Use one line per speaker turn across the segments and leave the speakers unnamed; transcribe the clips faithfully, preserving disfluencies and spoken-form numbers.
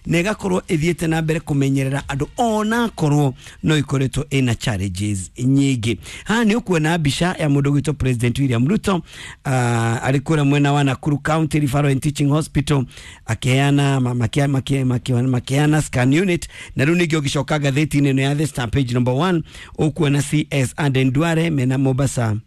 na ĩgakorwo ĩthiĩte na mbere kũmenyerera andũ onakorwo no ĩkoretwo ĩna challenges nyingĩ. Haha nĩ ũkuona mbica ya mũndũ ũgwĩtwo President William Ruto uh, arĩ kũrĩa mwena wa Nakuru County Referral and Teaching Hospital akĩheana makĩheana scan unit. Na rĩu ningĩ ũgĩcoka ngathĩti-inĩ ĩno ya The Star page number one ũkuona C S Aden Duale mena Mombasa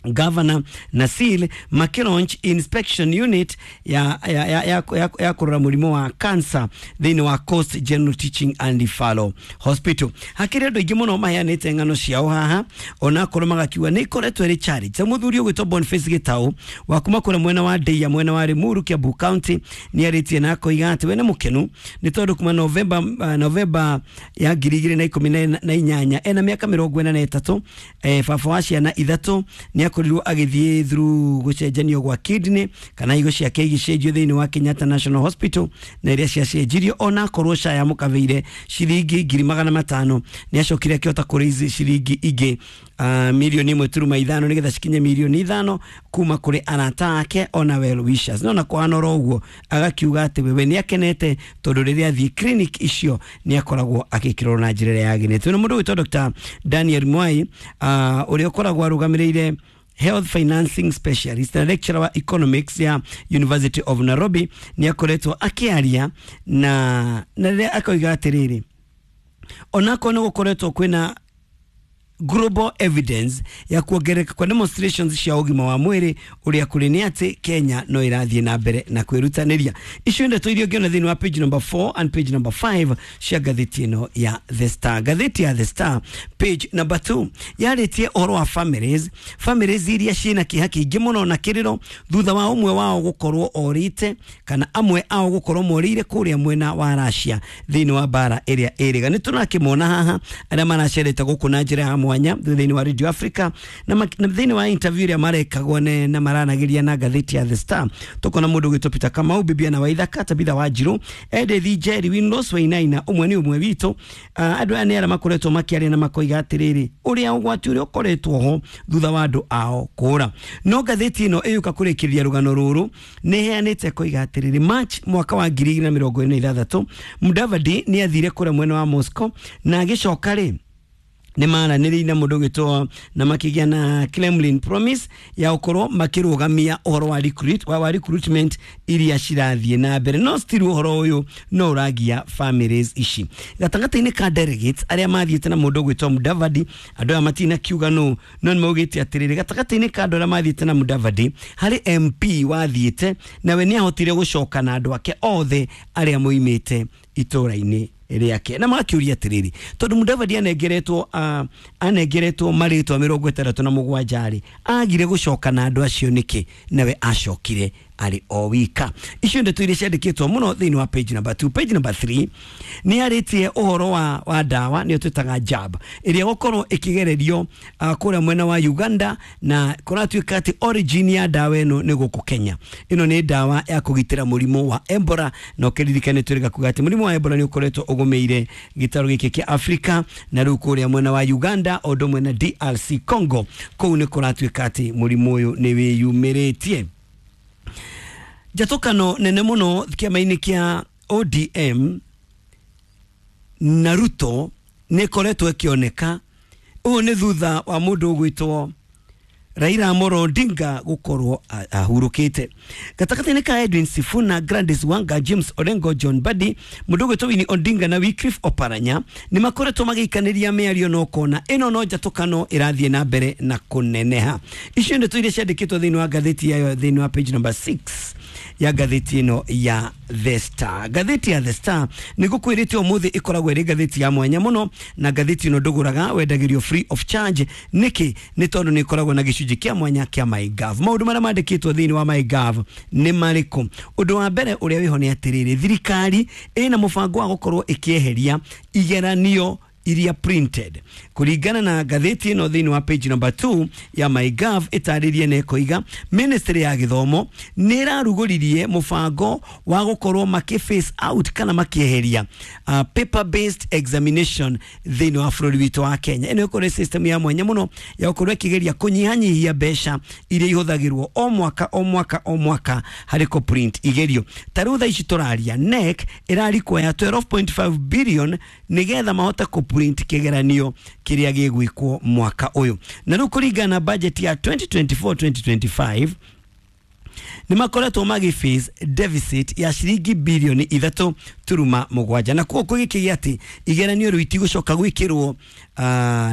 Governor na seal makilaunch inspection unit ya ya ya ya, ya, ya kurora mũrimũ wa cancer thĩinĩ wa Coast General Teaching and Referral Hospital. Hakĩrĩ andũ aingĩ mũno maheanĩte ng'ano ciao haha onakorwo magakiuga nĩ ikoretwo ĩrĩ challenge. Ta mũthuri ũgwĩtwo Boniface Gĩtaũ wa kuma kũrĩa mwena wa Ndeia mwena wa Limuru Kiambu County nĩ arĩtie na akoiga atĩ we nĩ mũkenu nĩ tondũ kuma November uh, November ya ngiri igĩrĩ na ikũmi na inyanya ena mĩaka mĩrongo ĩna na ĩtatũ, eh, baba wa ciana ithatũ, nĩ akorirwo agĩthiĩ through gũcenjanio gwa kidney kana higo ciake igĩcenjio thĩinĩ wa Kenyatta National Hospital na iria ciacenjirio onakorwo SHA yamũkavĩire ciringi ngiri magana matano nĩ acokire akĩhota kũraise ciringi ingĩ uh, milioni ĩmwe turuma ithano nĩgetha cikinye milioni ithano kuma kũrĩ arata ake ona well wishers. No na kwana oro ũguo agakiuga atĩ wewe nĩ akenete tondũ rĩrĩa athiĩ clinic icio nĩ akoragwo agĩkĩrwo na njĩra ĩrĩa yagĩrĩte. Na mũndũ wĩtwo Doctor Daniel Mwai uh, ũrĩa ũkoragwo arũgamĩrĩire Health Financing Specialist na lecturer wa economics ya University of Nairobi nĩ akoretwo akĩaria na na rĩrĩa akoiga atĩrĩrĩ onakorwo nĩ gũkoretwo kwĩna global evidence ya kuongerereka kwa demonstrations cia ũgima wa mwĩrĩ ũrĩa kũrĩ nĩ atĩ Kenya no ĩrathiĩ na mbere na kwĩrutanĩria. Icio ndeto iria ũngĩona thĩinĩ wa page number four and page number five cia ngathĩti ĩno ya The Star. Ngathĩti ya The Star page number two yarĩtie ũhoro wa families, families iria ciĩna kĩeha kĩingĩ mũno na kĩrĩro thutha wa ũmwe wao gũkorwo orĩte kana amwe ao gũkorwo morĩire kũrĩa mwena wa Russia thĩinĩ wa bara ĩrĩa ĩrĩga. Nĩ tũrakĩmona haha arĩa maracerete gũkũ na njĩra ya mwanya thĩinĩ wa Radio Africa na thĩinĩ wa interview ĩrĩa marekagwo na maranagĩria na ngathĩti ya The Star. Tukona mũndũ ũgwĩtwo Peter Kamau, Bibiana Waithaka, Tabitha Wanjiru, Edith Njeri, Winlos Wainaina, ũmwe nĩ ũmwe witũ. Andũ aya nĩ arĩa makoretwo makĩaria na makoiga atĩrĩrĩ ũrĩa ũgwati ũrĩa ũkoretwo ho thutha wa andũ ao kũra. No ngathĩti ĩno ĩyũka kũrĩkĩrĩria rũgano rũrũ nĩ ĩheanĩte koiga atĩrĩrĩ March mwaka wa ngiri igĩrĩ na mĩrongo ĩna na ithathatũ Mudavadi nĩ athire kũrĩa mwena wa Moscow na agĩcoka rĩ nĩ maranĩrĩire na mũndũ ũgwĩtwo na makĩgĩa na Kremlin promise ya gũkorwo makĩrũgamia ũhoro wa recruit wa recruitment iria cirathiĩ na mbere, no still ũhoro ũyũ no ũragia families ici. Gatagatĩ-inĩ ka delegates arĩa mathiĩte na mũndũ ũgwĩtwo Mudavadi, andũ aya matina kiuga no no nĩ maugĩte atĩrĩrĩ gatagatĩ-inĩ ka andũ arĩa mathiĩte na Mudavadi harĩ M P wathiĩte nawe nĩ ahotire gũcoka na andũ ake othe arĩa moimĩte itũra-inĩ rĩake na magakiuria atĩrĩrĩ tondũ Mudavadi anengeretwo uh, anengeretwo marĩtwa mĩrongo ĩtandatũ na mũgwanja rĩ agire gũcoka na andũ acio nĩkĩ nawe acokire arĩ o wika. Icio ndeto iria ciandĩkĩtwo mũno thĩinĩ wa page number two. Page number three nĩ arĩtie ũhoro wa, wa ndawa nĩyo twĩtaga jab ĩrĩa gũkorwo ĩkĩgererio uh, kũrĩa mwena wa Uganda na kũratuĩka atĩ origin ya ndawa ĩno nĩ gũkũ Kenya. Ĩno nĩ ndawa ya kũgitĩra mũrimũ wa Ebola na ũkĩririkane twĩrĩga kuga atĩ mũrimũ wa Ebola nĩ ũkoretwo ũgũmĩire gĩtarũ gĩkĩ kĩa Afrika na rĩu kũrĩa mwena wa Uganda o ũndũ ũmwe na D R C Congo kũu nĩ kũratuĩka atĩ mũrimũ ũyũ nĩ wĩyumĩrĩtie. Njatũkano nene mũno kĩama-inĩ kĩa O D M na Ruto nĩ ĩkoretwo ĩkĩoneka. Ũũ nĩ thutha wa mũndũ ũgwĩtwo Raila Amolo Odinga gũkorwo ahurũkĩte. Gatagatĩ-inĩ ka Edwin Sifuna, Gladys Wanga, James Orengo, John Mbadi, mũndũ ũgwĩtwo Winnie Odinga na Wycliffe Oparanya nĩ makoretwo magĩikanĩria mĩario na ũkona ĩno no njatũkano ĩrathiĩ na mbere na kũneneha. Icio ndeto iria ciandĩkĩtwo thĩinĩ wa ngathĩti yayo thĩinĩ wa page number six ya ngathĩti ĩno ya The Star. Ngathĩti ya The Star nĩ ngũkwĩrĩte ũmũthĩ ĩkoragwo ĩrĩ ngathĩti ya mwanya mũno na ngathĩti ĩno ndũgũraga wendagĩrio free of charge. Nĩkĩ? Nĩ tondũ nĩ ĩkoragwo na gĩcunjĩ kĩa mwanya kĩa MyGov. Maũndũ marĩa mandĩkĩtwo thĩinĩ wa MyGov nĩ marĩkũ? Ũndũ wa mbere ũrĩa wĩho nĩ atĩrĩrĩ thirikari ĩna mũbango wa gũkorwo ĩkĩeheria igeranio iria printed kũringana na ngathĩti ĩno thĩinĩ wa page number two ya MyGov ĩtarĩrie na ĩkoiga ministry ya gĩthomo nĩ ĩrarugũririe mũbango wa gũkorwo makĩ phase out kana makĩeheria uh, paper based examination thĩinĩ wa bũrũri witũ wa Kenya. Ĩno ĩkorwo system ya mwanya mũno ya gũkorwo ĩkĩgeria kũnyihanyihia mbeca iria ihũthagĩrwo o mwaka o mwaka o mwaka harĩ kũ print igerio. Ta rĩu thaa ici tũraria N E C ĩrarikwo ya twelve point five billion nĩgetha mahote kũ print kĩgeranio kĩrĩa gĩgwĩkwo mwaka ũyũ. Na rĩu kũringana na budget ya twenty twenty-four twenty twenty-five nĩ makoretwo magĩ face deficit ya ciringi bilioni ithatũ turuma mũgwanja, na koguo gĩkĩgĩa atĩ igeranio rĩu itigũcoka gwĩkĩrwo uh,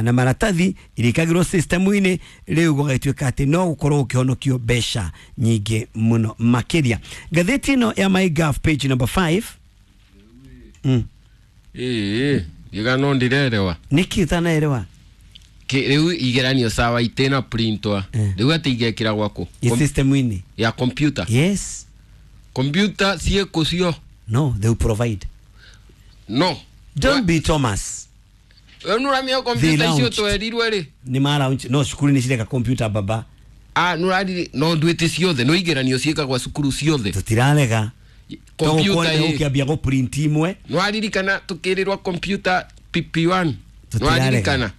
na maratathi, irĩkagĩrwo system-inĩ rĩu gũgatuĩka atĩ no gũkorwo gũkĩhonokio mbeca nyingĩ mũno makĩria. Ngathĩti ĩno ya MyGov page number five. Mm.
Ĩĩ, gĩgano ndirerewa.
Nĩkĩ ũtanaerewa?
Rĩu igeranio sawa itena printwa. Rĩu atĩ igekĩra gwaku
system-inĩ
ya computer.
Yes.
Computer ciĩkũ cio?
No, they will provide.
No.
Don't be Thomas.
Nũramia computer icio twerirwe rĩ?
Nĩ ma launch no cukuru nĩ cireka computer baba.
Ah, nũrariri no ndwĩte ciothe no igeranio ciĩkagwa cukuru ciothe.
Tũtirarega.
Computer
ĩ ũkĩambia gũ print imwe.
Nĩwaririkana tukĩrĩrwa computer P P one. Nĩwaririkana.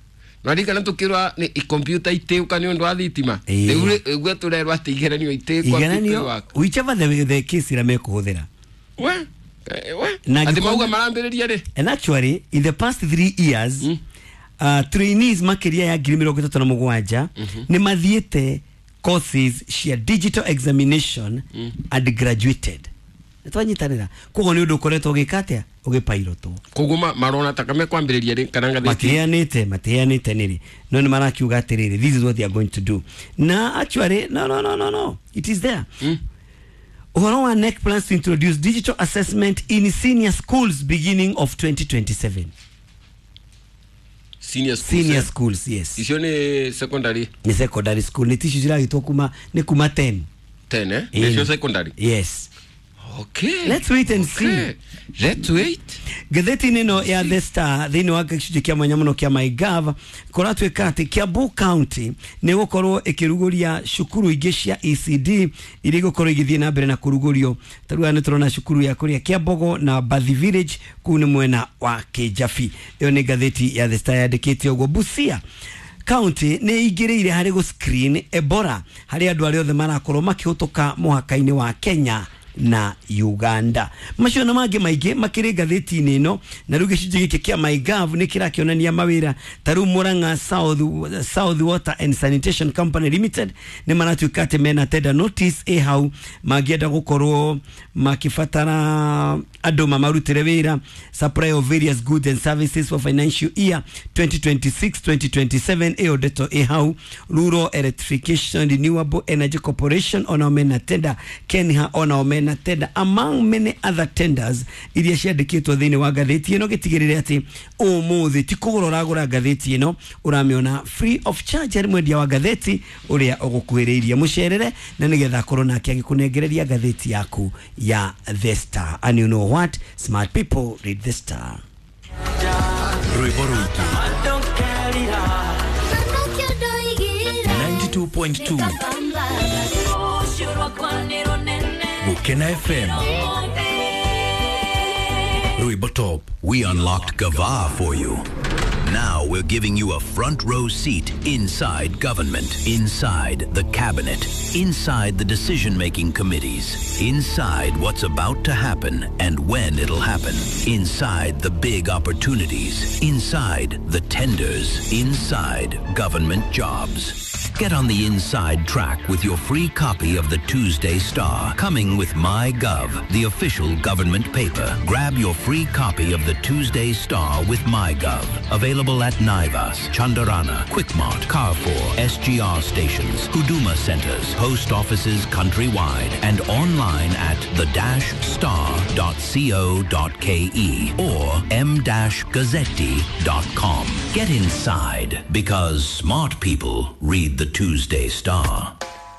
Nĩwaririkana tukĩrwa nĩ computer itĩũka nĩ ũndũ wa thitima. Rĩu ũguo tũrerwo atĩ igeranio itĩkwa
P P one. Whichever the the case ĩrĩa mekũhũthĩra.
We we atĩ mauga marambĩrĩria rĩ?
And actually in the past three years mm. uh, trainees makĩria ya ngiri mĩrongo ĩtatũ na mũgwanja nĩ mathiĩte courses cia digital examination mm. and graduated. Twanyitanĩra koguo nĩ ũndũ ũkoretwo ũgĩka atĩa ũgĩpairotwo.
Koguo marona ta mekwambĩrĩria rĩ kana ngathĩti
matiheanĩte matiheanĩte nĩrĩ no nĩ marakiuga atĩrĩrĩ this is what they are going to do. Na actually no no no no no it is there. Mm. Ũhoro wa N E C plans to introduce digital assessment in senior schools beginning of twenty twenty-seven.
Senior schools.
Senior schools, yes.
Icio nĩ secondary.
Nĩ secondary school nĩ ticio ciragĩtwo kuma nĩ kuma ten.
ten eh? Nĩcio secondary.
Yes.
Okay.
Let's wait and
okay.
see.
Let's wait.
Ngathĩti-inĩ ĩno ya The Star thĩinĩ wa gĩcunjĩ kĩa mwanya mũno kĩa MyGov kũratuĩka atĩ Kiambu County nĩ gũkorwo ĩkĩrugũria cukuru ingĩ cia E C D iria igũkorwo igĩthiĩ na mbere na kũrugũrio. Ta rĩu nĩ tũrona cukuru ya kũrĩa Kiambogo na Bathi Village kũu nĩ mwena wa Kĩjabi. Ĩyo nĩ ngathĩti ya The Star yandĩkĩte ũguo. Busia County nĩ ingĩrĩire harĩ gũ screen Ebola harĩ andũ arĩa othe marakorwo makĩhũtũka mũhaka-inĩ wa Kenya na Uganda. Macio na mangĩ maingĩ makĩrĩ ngathĩti-inĩ ĩno, na rĩu gĩcunjĩ gĩkĩ kĩa MyGov nĩ kĩrakĩonania mawĩra ta rĩu Murang'a South, South Water and Sanitation Company Limited nĩ maratuĩka atĩ mena tender notice ĩ hau mangĩenda gũkorwo makĩbatara andũ mamarutĩre wĩra supply of various goods and services for financial year twenty twenty-six twenty twenty-seven ĩyo ndeto ĩ hau. Rural Electrification Renewable Energy Corporation onao mena tender, Kenha onao mena tender, among many other tenders iria ciandĩkĩtwo thĩinĩ wa ngathĩti ĩno. Gĩtigĩrĩre atĩ ũmũthĩ ti kũgũra ũragũra ngathĩti ĩno, ũramĩona free of charge harĩ mwendia wa ngathĩti ũrĩa ũgũkuhĩrĩirie. Mũcerere na nĩgetha akorwo nake agĩkũnengereria ngathĩti yaku ya The Star. And you know what? Smart people read The Star.
Rwĩmbo rwitũ ninety-two point two Gukena F M. Rwĩmbo Top.
We unlocked Gava for you. Now we're giving you a front row seat inside government, inside the cabinet, inside the decision-making committees, inside what's about to happen and when it'll happen, inside the big opportunities, inside the tenders, inside government jobs. Get on the inside track with your free copy of the Tuesday Star, coming with MyGov, the official government paper. Grab your free copy of the Tuesday Star with MyGov. Available at Naivas, Chandarana, Quickmart, Carrefour, S G R stations, Huduma centers, post offices countrywide, and online at the dash star dot co dot k e or m dash gazzetti dot com. Get inside, because smart people read the Tuesday Star.